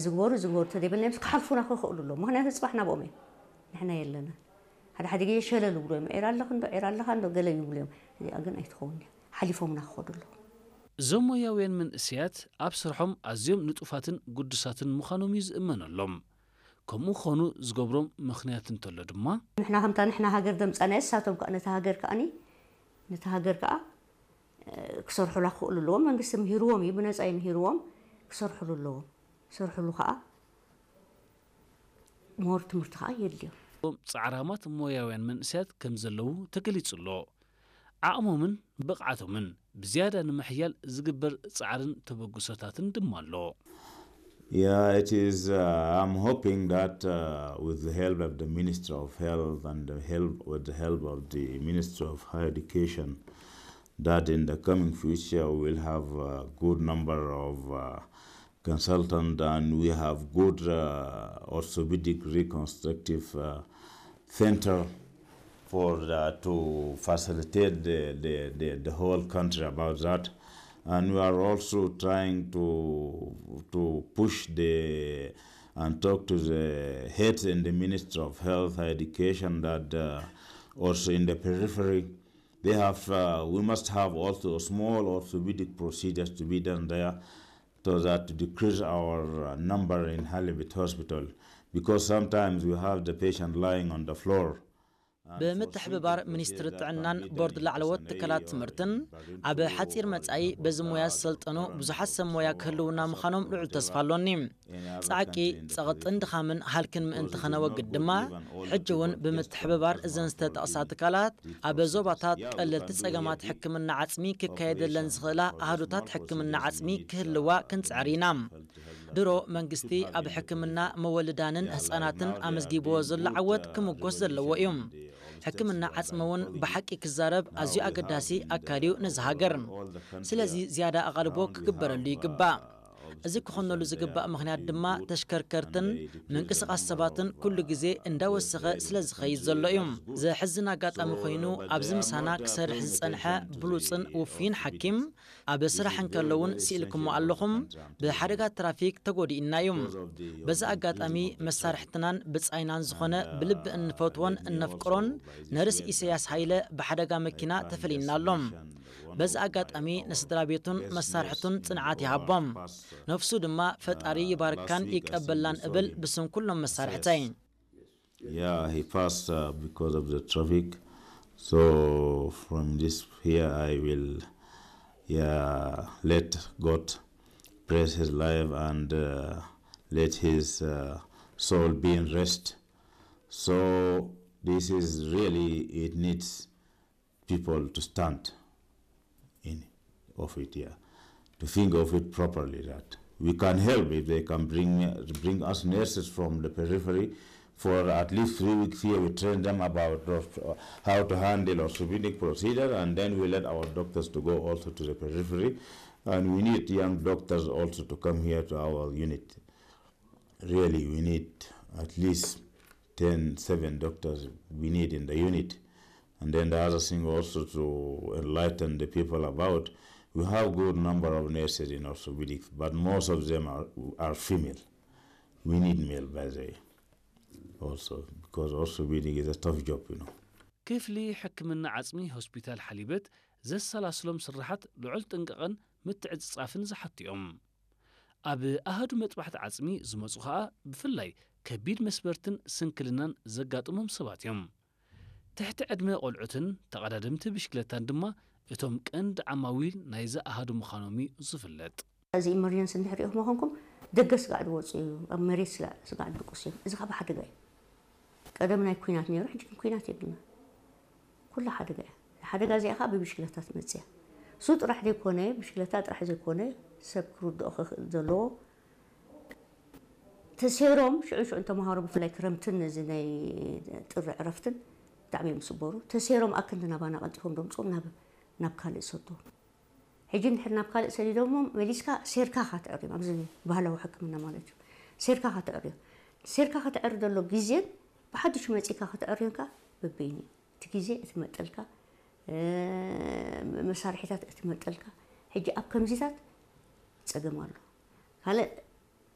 ዝግበሩ ዝግበሩ ተደይበልና ምስ ክሓልፉና ክኽእሉ ኣለዎም። ምኽንያቱ ፅባሕ ናብኦም እዮም፣ ንሕና የለና። ሓደ ሓደ ግዜ ሸለል ይብሉ እዮም፣ ዒራ ኣለኽ እንዶ፣ ዒራ ኣለኻ እንዶ፣ ገለ ይብሉ እዮም። እዚኣ ግን ኣይትኸውን እያ። ሓሊፎምና ክኸዱ ኣለዎም። እዞም ሞያውያን መንእሰያት ኣብ ስርሖም ኣዝዮም ንጡፋትን ግዱሳትን ምዃኖም እዩ ዝእመነሎም። ከምኡ ክኾኑ ዝገብሮም ምኽንያት እንተሎ ድማ፣ ንሕና ከምታ ንሕና ሃገር ደምፃናዮ፣ ንሳቶም ከዓ ነቲ ሃገር ከዓኒ፣ ነቲ ሃገር ከዓ ክሰርሑላ ክኽእሉ ኣለዎም። መንግስቲ ምሂርዎም እዩ፣ ብነፃ እዩ ምሂርዎም። ክሰርሑሉ ኣለዎም። ክሰርሑሉ ከዓ ሞር ትምህርቲ ከዓ የድልዮም። ጻዕራማት ሞያውያን መንእሰያት ከም ዘለዉ ተገሊጹ ኣሎ። ዓቕሞምን ብቕዓቶምን ብዝያዳ ንምሕያል ዝግበር ጻዕርን ተበግሶታትን ድማ ኣሎ። Yeah, it is. Uh, I'm hoping that uh, with the help of the Ministry of Health and the help with the help of the Ministry of Higher Education, that in the coming future we will have a good number of uh, consultants, and we have good uh, orthopedic reconstructive uh, center for uh, to facilitate the, the, the, the whole country about that. And we are also trying to to push the and talk to the heads in the Ministry of Health and Education that uh, also in the periphery they have. Uh, we must have also small orthopedic procedures to be done there, so that to decrease our uh, number in Halibut Hospital, because sometimes we have the patient lying on the floor. ብምትሕብባር ሚኒስትሪ ጥዕናን ቦርድ ላዕለዎት ትካላት ትምህርትን ኣብ ሓፂር መፃኢ በዚ ሞያ ዝሰልጠኑ ብዙሓት ሰብ ሞያ ክህልውና ምዃኖም ልዑል ተስፋ ኣሎኒ። ፃዕቂ፣ ፀቕጥን ድኻምን ሃልክን ምእንቲ ኸነወግድ ድማ ሕጂ እውን ብምትሕብባር እዘን ዝተጠቕሳ ትካላት ኣብ ዞባታት ቀለልቲ ፀገማት ሕክምና ዓፅሚ ክካየደለን ዝኽእላ ኣህዱታት ሕክምና ዓፅሚ ክህልዋ ክንፅዕር ኢና። ድሮ መንግስቲ ኣብ ሕክምና መወልዳንን ህፃናትን ኣመዝጊብዎ ዘሎ ዓወት ክምጎስ ዘለዎ እዩ። ሕክምና ዓፅሚ እውን ብሓቂ ክዛረብ ኣዝዩ ኣገዳሲ ኣካል እዩ ነዚ ሃገር። ስለዚ ዝያዳ ኣቓልቦ ክግበረሉ ይግባእ። እዚ ክኾነሉ ዝግባእ ምኽንያት ድማ ተሽከርከርትን ምንቅስቓስ ሰባትን ኩሉ ግዜ እንዳወሰኸ ስለ ዝኸይድ ዘሎ እዩ። ዘሕዝን ኣጋጣሚ ኮይኑ ኣብዚ ምሳና ክሰርሕ ዝጸንሐ ብሉጽን ውፉይን ሓኪም ኣብ ስራሕ እንከሎ እውን ስኢልኩሞ ኣለኹም፣ ብሓደጋ ትራፊክ ተጎዲእና እዩ። በዚ ኣጋጣሚ መሳርሕትናን ብጻይናን ዝኾነ ብልቢ እንፈትዎን እነፍቅሮን ነርስ ኢሰያስ ሃይለ ብሓደጋ መኪና ተፈሊና ኣሎ። በዚ ኣጋጣሚ ንስድራ ቤቱን መሳርሕቱን ጽንዓት ይሃቦም። ነፍሱ ድማ ፈጣሪ ይባርካን ይቀበላን እብል ብስም ኩሎም መሳርሕተይ። Yeah, he passed uh, because of the traffic. So from this here, I will, yeah, let God bless his life and uh, let his uh, soul be in rest. So this is really, it needs people to stand in of it here, to think of it properly, that we can help if they can bring bring us nurses from the periphery for at least three weeks here. We train them about uh, how to handle orthopedic procedure, and then we let our doctors to go also to the periphery. And we need young doctors also to come here to our unit. Really, we need at least ten, seven doctors we need in the unit. And then the other thing also to enlighten the people about, we have good number of nurses in orthopedics, but most of them are, are female. We need male, by the way, also, because orthopedic is a tough job, you know. ክፍሊ ሕክምና ዓጽሚ ሆስፒታል ሓሊበት ዘሰላስሎም ስራሓት ልዑል ጥንቃቐን ምትዕጽጻፍን ዝሓቱ እዮም። ኣብ ኣሃዱ መጥባሕቲ ዓጽሚ ዝመጹ ኸኣ ብፍላይ ከቢድ መስበርትን ስንክልናን ዘጋጥሞም ሰባት እዮም። ትሕቲ ዕድመ ቆልዑትን ተቐዳደምቲ ብሽክለታን ድማ እቶም ቀንዲ ዓማዊል ናይዚ ኣሃዱ ምዃኖም እዩ ዝፍለጥ። እዚ ኢመርጀንሲ እንድሕር ሪኢኹም ኮንኩም ደገ ስጋዕ ዝወፁ እዩ፣ ኣብ መሬት ስጋዕ ስጋዕ ድቅሱ እዮም። እዚ ካብ ሓደጋ እዩ። ቀደም ናይ ኩናት ነይሩ፣ ሕጂ ግን ኩናት የብልና። ኩላ ሓደጋ እያ። ሓደጋ እዚኣ ከዓ ብብሽክለታ ትመፅእ እያ። እሱ ጥራሕ ዘይኮነ፣ ብሽክለታ ጥራሕ ዘይኮነ፣ ሰብ ክርድኦ ክኽእል ዘለዎ ተሰይሮም ሽዑ ሽዑ ተምሃሮ ብፍላይ ክረምትን እዚ ናይ ጥሪ ዕረፍትን ብጣዕሚ እዮም ዝስበሩ። ተሰይሮም ኣክንዲ ናባና ቀልጢፎም ደምፅኡ ናብ ናብ ካልእ ይሰዱ። ሕጂ እንድሕር ናብ ካልእ ሰዲዶሞ መሊስካ ሴርካ ካትዕርዮም ኣብዚ ባህላዊ ሕክምና ማለት እዩ። ሴርካ ካትዕርዮ ሴርካ ከተዕሪ ዘሎ ግዜን ብሓድሽ መፂካ ከተዕርዮን ከዓ በበይኑ እዩ። እቲ ግዜ እቲ መጠልካ መሳርሒታት እቲ መጠልካ ሕጂ ኣብ ከምዚታት ፀገም ኣሎ። ካልእ